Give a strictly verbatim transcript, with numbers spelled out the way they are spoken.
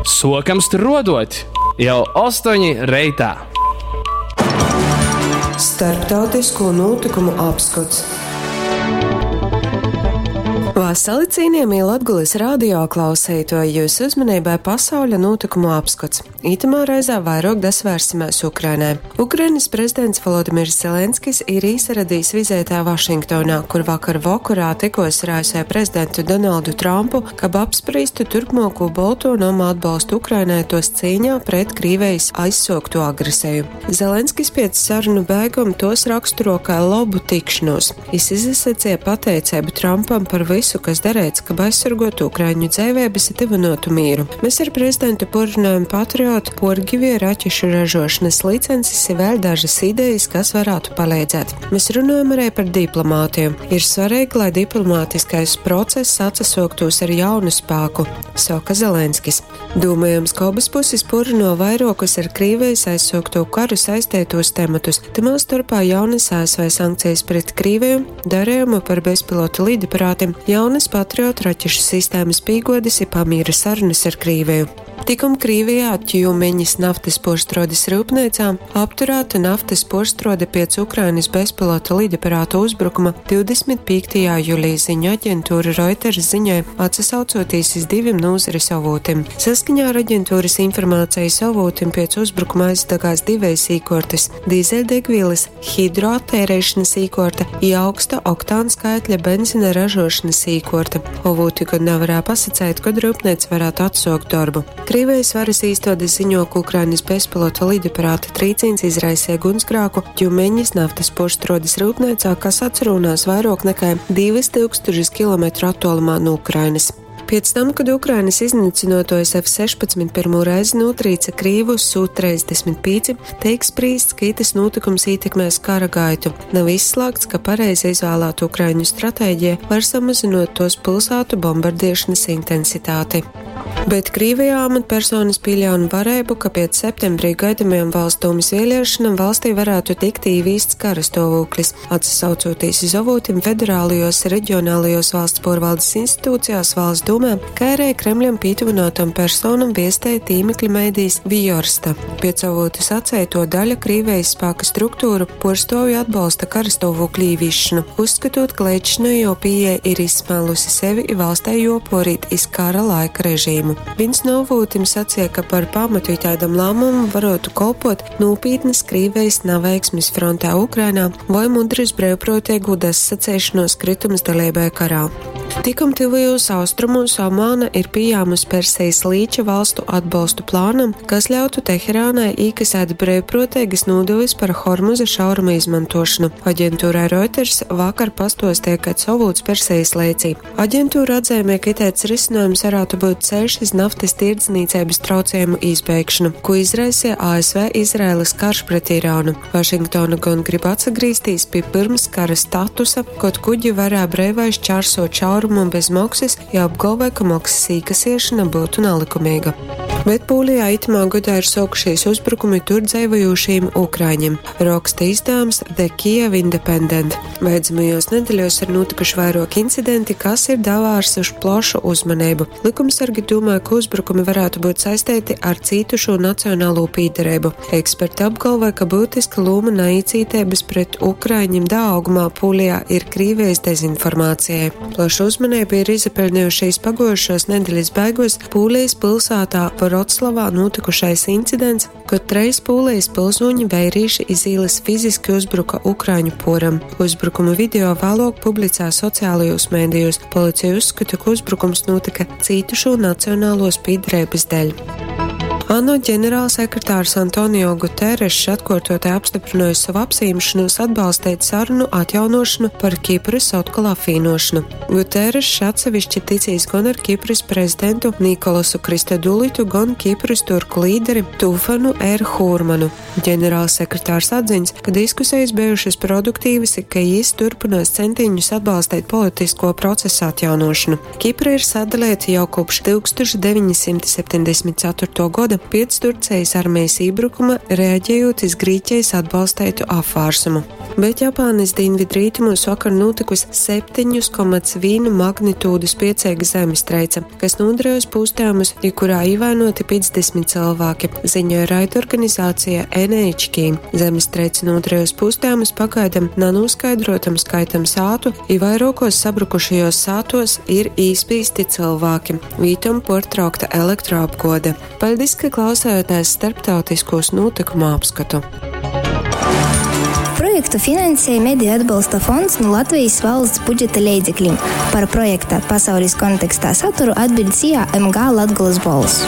Suokam struoduot jau ostoņi reitā! Starptautisko notikumu apskots. Vasali cienījamie Latgulis radio klausētoji, jūsu uzmanībai pasauļa notikumu apskots. Itamā reizē vairāk dasvērsimies Ukrainai. Ukrainas prezidents Volodimirs Zelenskis ir īsaradījis vizētā Vašingtonā, kur vakar vakarā tikos ar A S V prezidentu Donaldu Trumpu, kab apspriestu turpmāko Bolto nomu atbalstu Ukrainai tos cīņā pret Krīvijas aizsokto agresiju. Zelenskis pēc sarunu beigum tos raksturo kā labu tikšanos. Jis izsacīja pateicību Trumpam par visu, kas darēts, kab aizsargotu Ukraiņu dzeivēbas i tyvynotu mīru. Mēs ar prezidentu porunājam patriotu porgivie raķešu ražošanas licences i vēl dažas idejas, kas varētu palīdzēt. Mēs runājam arī par diplomātiju. Ir svarīgi, lai diplomātiskais process atsasoktos ar jaunu spēku, saka Zelenskis. Domājams, ka abas puses porunā vairokus ar Krīvijas aizsokto karu saistētos tematus. Tamā starpā jaunas A S V sankcijas pret Krīviju, darījumu par bezpilota lidaparātiem, jaunas patriotu raķešu sistēmas pīgodes i pamīra sarunas ar Krīviju. Tikum Krīvijā Tjumeņas naftas poštrodes rūpnīcā apturēta naftas poštrode pēc Ukrainas bezpilota lidaparāta uzbrukuma divdesmit piektajā jūlijā ziņu aģentūra Reuters ziņoja, atsasaucoties iz diviem nozares avotiem. Saskaņā ar aģentūras informācijas avotiem pēc uzbrukuma aizdegās divējas īkortes – dīzeļdegvielas, hidroattērēšanas īkorte i augsta oktāna skaitļa benzina ražošanas īkorte. Avoti gan nevarēja pasacēt, kad rūpnīca varētu atsākt darbu. Krīvijas varas īstodes ziņo, ka Ukrainas bezpilota lidaparāta trīcīns izraisīja gunsgrāku Tjumeņas naftas poštrodes rūpnīcā, kas atrunās vairāk nekā divas tūkstošas kilometru attālumā no Ukrainas. Pēc tam, kad Ukrainas iznīcinotojs F sešpadsmit pirmo reizi notrīca Krīvu Su trīsdesmit pieci, tiek spriests, ka itas notikums ietekmēs kara gaitu. Nav izslēgts, ka pareizi izvēlēta Ukraiņu stratēģija var samazinot tos pilsētu bombardēšanas intensitāti. Bet Krīvijā amatpersonas pieļauj varēbu, ka pēc septembrī gaidamajām valsts dūmas vēlēšanām valstī varētu tikt īvīsts karastāvoklis. Atsaucoties uz avotiem federālajos, reģionālajos valsts porvaldes institūcijās, valsts dūmē, kā arī Kremļam pietuvinātam personam viestēja tīmekļa mēdījis Vjorsta. Pēc avotu sacēto daļa Krīvijas spēka struktūru porstovi atbalsta karastāvokļu īvīšanu, uzskatot, ka līdzšinējo pieeja ir izsmēlusi sevi i valstē joporīt iz kara laika režīmu. Viens no avotiem sacīja, ka par pamatu tādam lēmumam varētu kalpot nopietnas Krīvijas neveiksmes frontē Ukrainā vai mudras brīvprātīgu desacēšanos kritums dalībai karā. Tikum tuvajos austrumos Omāna ir pieejams Persijas līča valstu atbalstu plānam, kas ļautu Teherānai īkasēt brīvprātīgas nodevas par Hormuza šauruma izmantošanu. Aģentūrai Reuters vakar pastostīja, ka savūts Persijas līcī. Aģentūra atzīmē, ka itēts risinājums varētu būt ceļš iz naftas tirdzniecības traucējumu izbeigšanu, ko izraisīja A S V Izraēlas karš pret Irānu. Vašingtona gan grib atsagrīzties pie pirms kara statusa, kaut kuģi varēja brīvai šķērsot šaurumu un bez maksas, ja apgalvoja, ka maksas īkasiešana būtu nelikumīga. Bet Pūlijā itamā gadā ir sākušies uzbrukumi tur dzīvojošiem ukraiņiem, raksta izdevums The Kiev Independent. Beidzamajos nedēļos ir notikuši vairāki incidenti, kas ir davārsuši plašu uzmanību. Likumsargi domā, ka uzbrukumi varētu būt saistīti ar cītušo nacionālo pīderību. Eksperti apgalvoja, ka būtiska loma naicītības pret ukraiņiem dāgumā Pūlijā ir Krīvijas dezinformācijai. Plašu uzmanību ir izpelnījušies pagojušos nedēļas beigos Pūlijas pilsētā Vroclavā notikušais incidents, kad treis Pūlijas pilsoņi vērīši iz ielas fiziski uzbruka ukraiņu poram. Uzbrukuma video vēlāk publicē sociālajos mēdījos. Policija uzskata, ka uzbrukums notika cītušo nacionālo spīdrēbes dēļ. ANO ģenerālsekretārs Antonio Guterres atkārtoti apstiprināja savu apsīmšanos atbalstīt sarunu atjaunošanu par Kipras atkal apvienošanu. Guterres atsevišķi ticīs gan ar Kipras prezidentu Nikolasu Kristodulitu, gan Kipras turku līderi Tufanu R. Hurmanu. Ģenerālsekretārs atziņas, ka diskusijas bijušas produktīvas, ka jis turpinās centiņus atbalstīt politisko procesu atjaunošanu. Kipra ir sadalīta jau kopš tūkstoš deviņsimt septiņdesmit ceturto gada, goda piec Turcejis armejis ībrukuma, reaģejūt iz Grīķejis atbalsteitu apvārsumu. Bet Japānys dīnvidrītumos vakar nūtykusi septeņus komats vīnu magnitūdu spieceiga zemestreice, kas nodarījusi pūstījumus, i kurā ievainoti piecdesmit cilvēki, ziņoja raidorganizācija N H K. Zemestreice nodarījusi pūstījumus pagaidam nav noskaidrotam skaitam sātu, i vairākos sabrukušajos sātos ir īspīsti cilvēki. Vītom portraukta elektroapgode. Paldies, ka klausējāties starptautiskos notikumu apskatu. Projektu finansēja Mediju atbalsta fonds no Latvijas valsts budžeta leidzekļiem. Par projekta pasaules kontekstā saturu atbild S I A M G Latgolas Bolss.